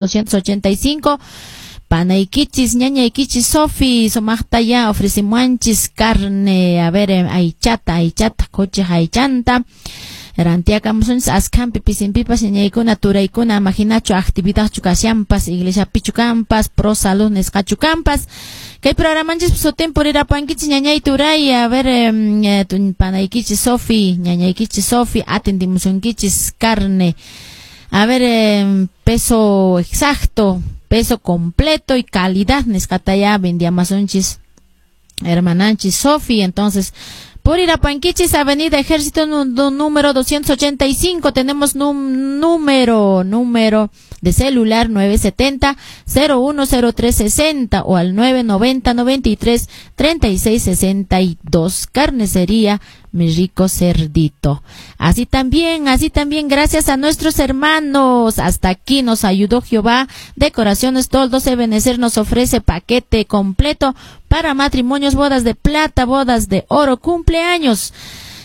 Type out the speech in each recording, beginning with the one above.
285. Panaykichis, ñañaykichis, Sofi, sumaqtaya ofrecimuanchis carne, a ver, aychata, aychata, khuchi aychanta. Rantiakamusunchis askhampi pisinpipas ñañaykuna turaykuna imaginachu actividadchu kashanpas iglesiapichu kanpas pro salud nisqachu kanpas kay programanchis sutin purirapankichis ñañay turay a ver panaykichis Sofi, ñañaykichis Sofi, atendimusunkichis carne, a ver, peso exacto, peso completo y calidad nisqataya vendiamasunchis hermananchis Sofi. Entonces, purirapankichis, Avenida Ejército número 285, tenemos número de celular 970 010360 o al 990 93 36 62. Carnicería Mi Rico Cerdito. Así también, gracias a nuestros hermanos. Hasta aquí nos ayudó Jehová. Decoraciones Toldos Ebenezer nos ofrece paquete completo para matrimonios, bodas de plata, bodas de oro, cumpleaños,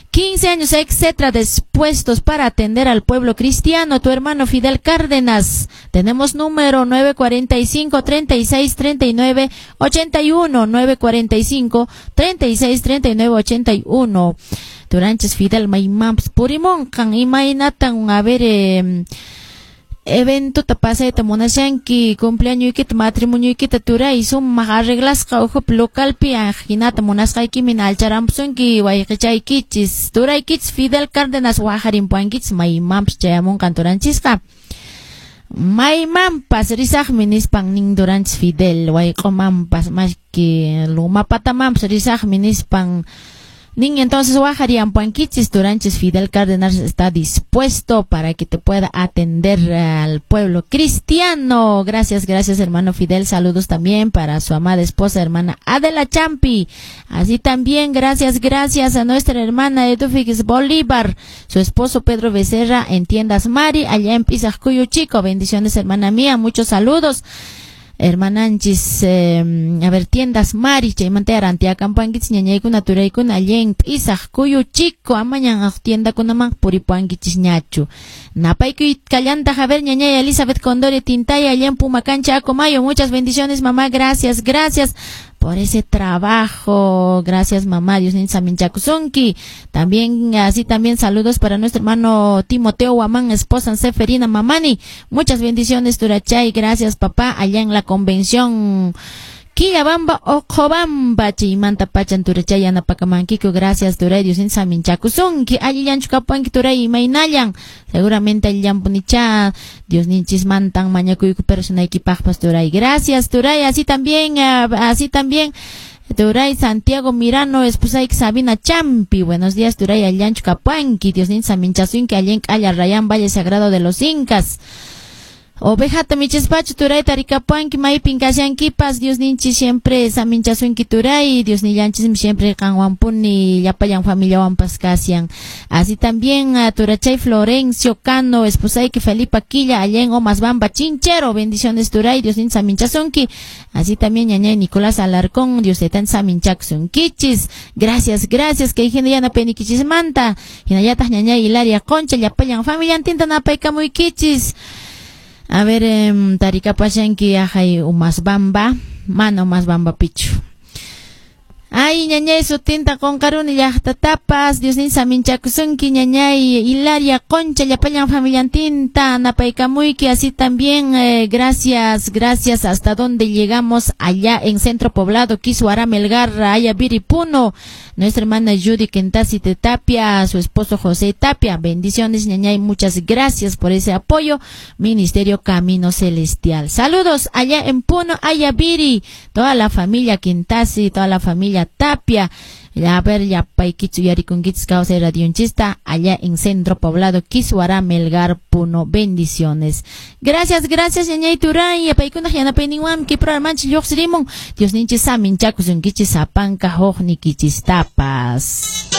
15 años, etcétera, dispuestos para atender al pueblo cristiano. Tu hermano Fidel Cárdenas. Tenemos número 945 36 39 81, 945 36 39 81. Turanchis Fidel maymanpas purimunqan, imaynatan, a ver, evento pasayta munashanki, cumpleañoykita, matrimonioykita, turay, sumaq arreglasqa ukhupi localpi, hinata munasqaykimin alcharampusunki wayqichaykichis, turaykichis Fidel Cárdenas waqharimpuankichis, maymanpas chayamunqan turanchisqa. Maymanpas risaqmi nispan nin turanchis Fidel, wayq'umanpas mashki lumapatamanpas risaqmi nispan nin. Entonces waqharimpuankichis, turanchis Fidel Cárdenas está dispuesto para que te pueda atender al pueblo cristiano. Gracias, gracias, hermano Fidel. Saludos también para su amada esposa, hermana Adela Champi. Así también, gracias, gracias a nuestra hermana Edufix Bolívar, su esposo Pedro Becerra en Tiendas Mari, allá en Pisajcuyo Chico. Bendiciones, hermana mía, muchos saludos. Hermananchis, a ver, Tiendas Mari, chaymanta rantiakampuankichis ñañaykuna turaykuna allá en Pisajcuyo Chico, amañan tiendakunaman puripuankichis ñachu. Napaykuy kallanta, a ver, ñañay Elizabeth Condori Tintaya, allá en Pumacancha, Acomayo, muchas bendiciones, mamá, gracias, gracias por ese trabajo, gracias, mamá, Dios saminchakusunki. También, así también saludos para nuestro hermano Timoteo Guamán, esposa Seferina Mamani, muchas bendiciones, turachay, gracias, papá, allá en la convención Quillabamba, Ojobamba, chaymanta pachan turachay yanapakamankiku, gracias, turay, Dios saminchakusunki, allillanchu kapuanki, turay, imaynallan, seguramente allillanpunicha, Dios ninchismantan mañakuyku personaykipaqpas, turay, gracias, turay, así también, turay Santiago Mirano, esposa Sabina Champi, buenos días, turay, allillanchu kapuanki, Dios saminchasunki, allin K'alla Rayán, Valle Sagrado de los Incas. Ovejata michispachu, turay, tarikapuanki maypin kashankipas, Dios ninchis siempre saminchasunki, turay, Dios nillanchismi siempre qanwanpuni llapallan familiawanpas kashan. Así también a turachay Florencio Cano, esposayki Felipa Quilla, allá en Omasbamba, Chinchero, bendiciones, turay, Dios ninchis saminchasunki. Así también ñañay Nicolás Alarcón, Dios taytan saminchakusunkichis. Gracias, gracias, kay hina yanapaynikichismanta. Hinallataq ñañay Hilaria Concha, llapallan familiantinta napaykamuykichis. A ver, tarikapashanki ajay Umasbamba, mana Umasbamba pichu. Ay, ñañay sutinta qunqaruni llaqtatapas, Dios nin saminchakusunki, ñañay Hilaria Concha, llapallan familiantinta napaykamuyki, así también, gracias, gracias, hasta donde llegamos allá en Centro Poblado, Kiswara Melgar, Ayaviri Puno, nuestra hermana Judy Kentasi de Tapia, su esposo José Tapia, bendiciones, ñañay, muchas gracias por ese apoyo, Ministerio Camino Celestial. Saludos allá en Puno, Ayaviri, toda la familia Quintasi, toda la familia Tapia, ya a ver, ya paikichu yarikunkichis kawsay radionchista, allá en Centro Poblado, Kiswara Melgar, Puno, bendiciones. Gracias, gracias, ñañay turay, paykuna yanapayninwan, kay programanchis lluqsirimun, Dios ninchis saminchakusunkichis sapanka huqnikichistapas.